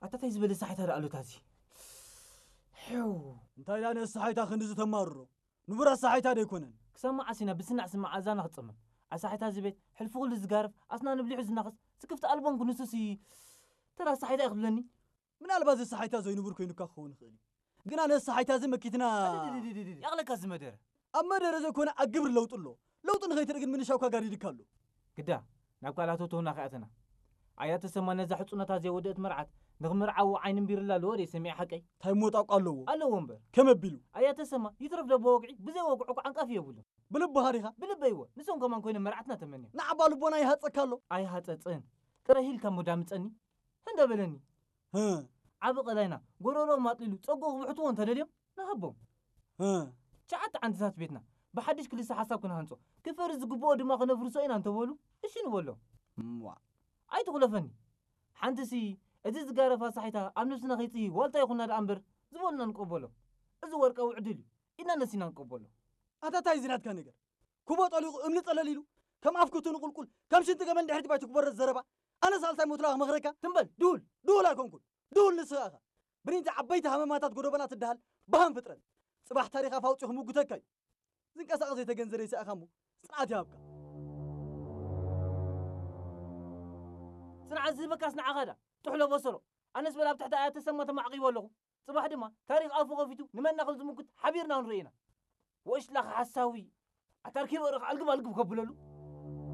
ኣታታይ ዝበለ ሳሒታ ደኣ ኣሎታዚ። ሕው። እንታይ ደኣ ነዚ ሳሒታ ክንድዚ ተማርሮ? ንቡር ኣሳሒታ ዶ ኣይኮነን? ክሳብ መዓስ ኢና ብስናዕ ስማዕ ኣዛና ክጸመም? ኣሳሒታ እዚ ቤት ሕልፊ ኩሉ ዝጋርፍ ኣስናን ብሊሑ ዝናኸስ ስክፍቲ ኣልቦን ክንሱሲ ተራ ኣሳሒታ እዩ ክብለኒ? ምናልባት እዚ ኣሳሒታ ዘይንቡር ኮይኑካ ክኸውን ይኽእል እዩ። ግና ነዚ ኣሳሒታ እዚ መኪትና ኣደደደደደደ። ያቕለካ እዚ መደረ። ኣብ መደረ ዘይኮነ ኣብ ግብሪ ለውጢ ኣሎ። ለውጢ ንኸይትርኢ ግን ምንሻውካ ጋዲድካ ኣሎ። ግዳ ናብ ካልኣት ተውና ከኣተና። ኣያ ተሰማ ነዛ ሕጹነታ ዘይወደእት መርዓት ንኽምርዓዎ ዓይኒ እምቢርላ ኣለዎ ደይ ሰሚዐ ሓቀይ? እንታይ ሞጣቋ ኣለዎ? ኣለዎ እምበር። ከመ ኣቢሉ? ኣያ ተሰማ ይትረፍ ደቦ ወግዒ ብዘይ ወግዑ እኳ ዓንቃፊ የብሉ። ብልብኻ ዲኻ? ብልበይዎ። ንሶም ከማን ኮይኖም መርዓትና ተመንዮም። ንዓባ ልቦና ይሃጸካ ኣሎ። ኣይሃጸጽን። ቅረ ሂልካ እሞ ዳምጸኒ። ህንደ በለኒ። ህ። ዓቢ ቀላይና ጎሮሮ ማጥሊሉ ጸጉ ክብሕትዎ እንተደልዮም ንሃቦም። ህ። ትሽዓተ ዓንድታት ቤትና ብሓድሽ ክልሰ ሓሳብ ክንሃንጾ፣ ክፈርስ ዝግብኦ ድማ ክነፍርሶ ኢና እንተበሉ፣ እሺ ንበሎም። እምዋ። ኣይትኹለፈኒ። ሓንትሲ፣ እዚ ዝጋረፋ ሳሒታ ኣብ ነብስና ከይጽሂ ዋልታ ይኹና ደኣ እምበር ዝበሉና ንቀበሎ። እዚ ወርቃዊ ዕድል እዩ። ኢድና ነሲና ንቀበሎ። ኣታ ታይ እዚ ናትካ ነገር? ኩቦ ጠሊቑ እምኒ ጠለል ኢሉ፣ ከም ኣፍ ክቱ ንቁልቁል፣ ከም ሽንቲ ገመል ድሕሪት ባይቱ ክበረዝ ዘረባ። ኣነ ሳልሳይ ሞትላ ክመኽረካ? ትም በል፣ ድሁል። ድሁል ኣይኮንኩን። ድሁል ንስኻ ኢኻ። ብሪንታ ዓበይቲ ሃመማታት ጎደቦና ትደሃል በሃም ፍጥረት። ጽባሕ ታሪኽ ኣፍ ኣውጺኡ ክምጉተካ እዩ። ዝንቀሳቐስ ዘይተገንዘረ ይስኣኻ እሞ ጽንዓት ይሃብካ። ጽንዓት ዝህበካስ ንዓኻ ዳ ጥሕሎ በሰሎ። ኣነስ በል ኣብ ትሕቲ ኣያ ተሰማ ተማዕቂቦ ኣለኹ። ጽባሕ ድማ ታሪኽ ኣፉ ከፊቱ ንመና ከም ዝምጉት ሓቢርና ክንርኢ ኢና። ወሽላኽ ሓሳዊ። ኣታ ርኪበ ርኽ ኣልግብ ኣልግብ ከብለሉ።